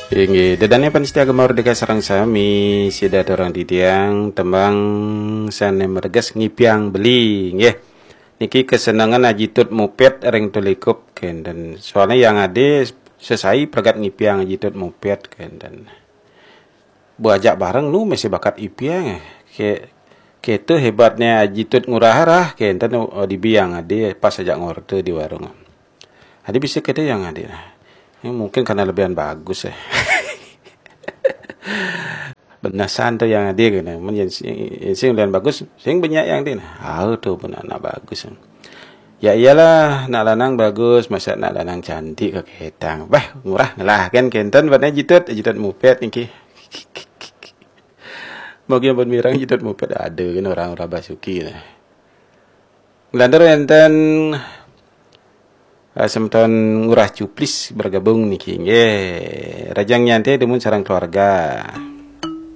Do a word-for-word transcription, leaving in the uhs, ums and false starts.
Inggih, ida dané pamiarsa Gema Merdeka sareng sami, sida aturang titiang tembang sané mareges Ngipiang Beli, nggih. Niki kesenengan Aji Tut Mupet ring Tulikup kénten. Soalnya Yang Adé sesai pragat ngipiang Aji Tut Mupet kénten. Bu ajak bareng nu masih bakat ipiang, eh. Ké, kéto hébatné Aji Tut Ngurah Rah, kénten, oh, dibi Yang Adé pas ajak ngorta di warung. Adi bisa kéto Yang Adé nah. Ini mungkin karena lebihan bagus, eh. Benasan to Yang Adé kéné. Mun yén sing, yén sing lebihan bagus, sing banyak Yang Adé nah. Ah, to benar nak bagus. Ya iyalah, nak lanang bagus, masa nak lanang cantik kakétang. Bah, Ngurah ngelah kan kénten, buatnya Aji Tut, Aji Tut Mupet niki. Bagi ampun mireng Aji Tut Mupet ada kan orang-orang basuki nah. Nglantur énten, eh, semeton Ngurah Cuplis bergabung niki. Nggih, rahajeng nyantai dumun sareng keluarga.